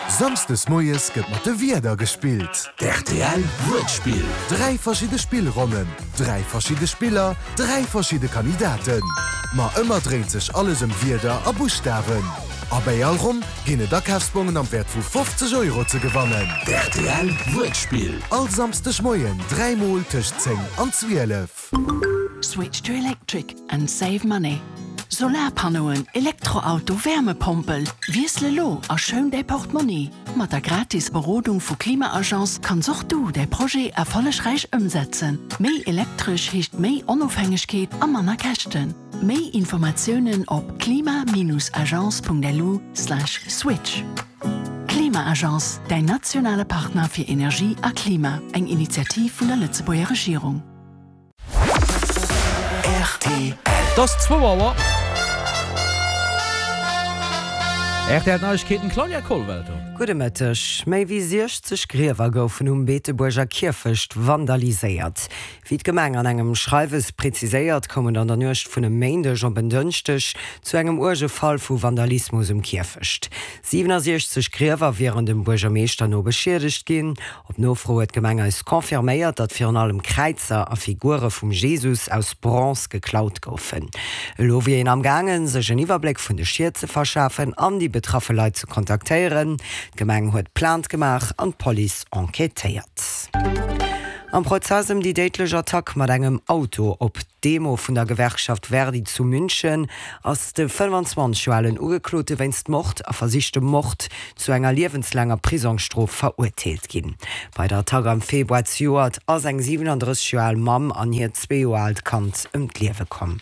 Samsdes moies gëtt mat de Wierder gespillt. D'RTL Wuertspill. 3 verschidde Spillronnen, 3 verschidde Spiller, 3 verschidde Kandidaten. Ma ëmmer dréint sech alles ëm Wierder a Buschtawen. A bäi all Ronn ginn et Akafsbongen am Wäert vu 50 Euro ze gewannen. D'RTL Wuertspill. All Samsdeg Moien 3 mol tëscht 10 an 12. Switch to electric and save money. Solarpannoen, Elektroauto, Wärmepompel, wiessel elo a schoun däi Portmonni! Mat der gratis Berodung vu Klima-Agence kanns och du däi Projet erfollegräich ëmsetzen. Méi elektresch heescht méi Onofhängegkeet a manner Käschten. Méi Informatiounen op klima-agence.lu/switch. Klima-Agence, däin nationale Partner fir Energie a Klima, eng Initiativ vun der Lëtzebuerger Regierung. Rtl. Et ass zwou Auer. Rtl Neiegkeeten, Claudia Kollwelter. Gudde Mëtteg. Méi wéi 60 Griewer goufen um Beetebuerger Kierfecht vandaliséiert. Wéi d'Gemeng an engem Schreiwes preziséiert, koum et an der Nuecht vun e Méindeg op en Dënschdeg zu engem uerge Fall vu Vandalismus um Kierfecht. 67 Griewer wieren dem Buergermeeschter no beschiedegt ginn. Op Nofro huet d'Gemeng eis confirméiert, datt virun allem Kräizer a Figure vum Jesus aus Bronze geklaut goufen. Elo wier een am gaangen, sech en Iwwerbléck vun de Schied ze verschafen an déi betraffe Leit ze kontaktéieren. D'Gemeng huet Plainte gemaach an d'Police enquêtéiert. Am Prozess ëm déi déidlech Attack mat engem Auto op d'Demo vun der Gewerkschaft Verdi zu München ass de 25 Joer alen Ugeklote wéinst Mord a versichtem Mord zu enger liewenslaanger Prisongsstrof verurteelt ginn. Bei der Attack am Februar zejoert ass eng 37 Joer al Mamm an hiert zwee Joer aalt Kand ëm d'Liewe komm.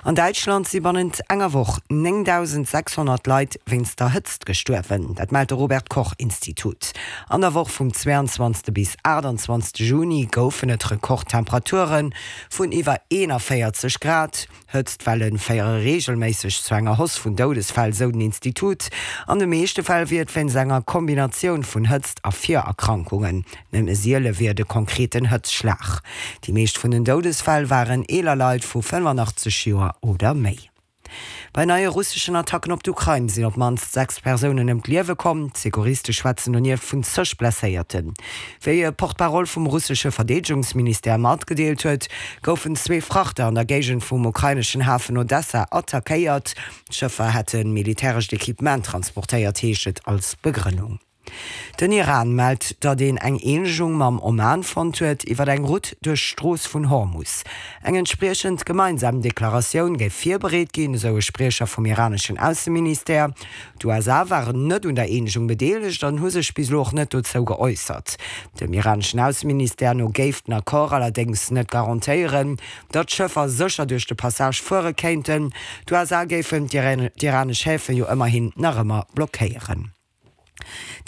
An Däitschland si bannent enger Woch 9.600 Leit wéinst der Hëtzt gestuerwen. Dat mellt de Robert Koch Institut. An der Woch vum 22. bis 28. Juni goufen et Rekordtemperature vun iwwer 41 Grad. Hëtztwelle féiere reegelméisseg zu enger Hausse vun Doudesfäll, sou den Institut. An de meeschte Fäll wier et wéinst enger Kombinatioun vun Hëtzt a Virerkrankungen. Nëmme siele wier et e konkreten Hëtzschlag. Déi meescht vun den Doudesfäll waren eeler Leit vu 85 Joer oder méi. Bei neie russeschen Attacken op d'Ukrain sinn op d'mannst 6 Persounen ëm d'Liewe komm. D'Secouriste schwätzen donieft vun zeg Blesséierten. Wéi e Porte-parole vum russesche Verdeedegungsministère matgedeelt huet, goufen zwee Frachter an der Géigend vum ukraineschen Hafen Odessa attackéiert. D'Schëffer hätte militärescht Equipement transportéiert, heescht et als Begrënnung. Den Iran mellt, datt een eng Eenegung mam Oman fonnt huet iwwer eng Route duerch d'Strooss vun Hormus. Eng entspriechend gemeinsam Deklaratioun géif virbereet ginn, esou e Spriecher vum iraneschen Ausseministère. D'USA waren net un der Eenegung bedeelegt an hu sech bis elo och net dozou geäussert. Dem iraneschen Ausseministère no géif den Accord allerdéngs net garantéieren, datt d'Schëffer sécher duerch de Passage fuere kéinten. D'USA géifen d'iranesch Häfe jo ëmmerhin nach ëmmer blockéieren.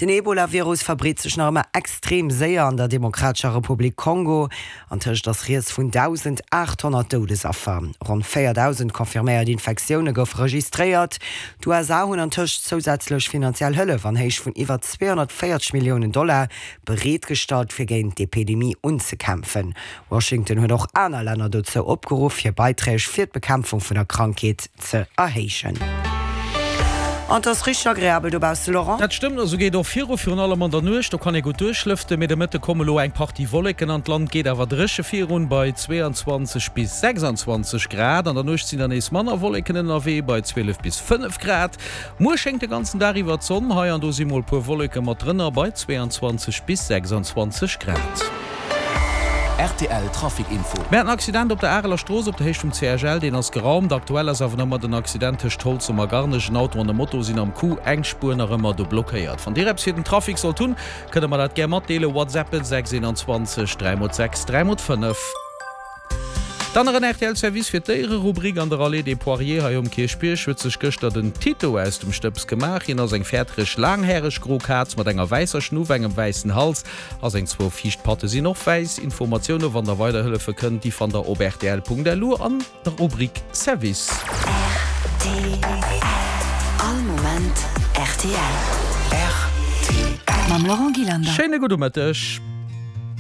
Den Ebola-Virus verbreet sech nach ëmmer extrem séier an der Demokratescher Republik Kongo. Antëscht ass rieds vun 1.800 Doudesaffer. Ronn 4.000 confirméiert Infektioune goufe registréiert. D'USA hunn antëscht zousätzlech finanziell Hëllef an Héicht vun iwwer 240 Milliounen Dollar bereetgestallt, fir géint d'Epidemie unzekämpfen. Washington huet och aner Länner dozou opgeruff, hir Beiträg fir d'Bekämpfung vun der Krankheet ze erhéijen. An 't ass richteg agreabel dobausse, Laurent. Dat stëmmt, a sou geet och viru, virun allem an der Nuecht, do kann ee gutt duerchlëften. Mee de Mëtte komme lo eng Partie Wolleken an d'Land, geet awer dréche virun bei 22 bis 26 Grad. An der Nuecht sinn dann nees manner Wolleken ënnerwee bei 12 bis 5 Grad. Muer schéngt de ganzen Dag iwwer d'Sonn, hei an do si mol puer Wolleke mat drënner bei 22 bis 26 Grad. Rtl Trafic Info. Mir haten en Accident op der Areler Strooss op der Héicht vum CHL, deen ass geraumt. Aktuell ass awer nach ëmmer den Accident tëscht Holzem a Garnech. En Auto an e Moto sinn am Coup, eng Spuer nach ëmmer do blockéiert. Wann Dir eppes fir den Trafic sollt hunn, kënnt der mer dat gär matdeelen. WhatsAppen 6 21 3 x 6 3 x 5. Dann nach en rtl Service fir d'Déiere-Rubrik. An der Allée des Poiriers hei um Kierchbierg huet sech gëschter den Tito aus dem Stëbs gemaach. Hien ass eng fäertereg, laanghäreg gro Kaz mat enger wäisser Schnuff, engem wäissen Hals a seng zwou viischt Patte sinn och wäiss. Informatioune wann der weider hëllefe kënnt, déi fannt der op rtl.lu an der Rubrik Service. Rtl, All Moment rtl. Rtl. Mam Laurent Gillander. Schéine gudde Mëtteg.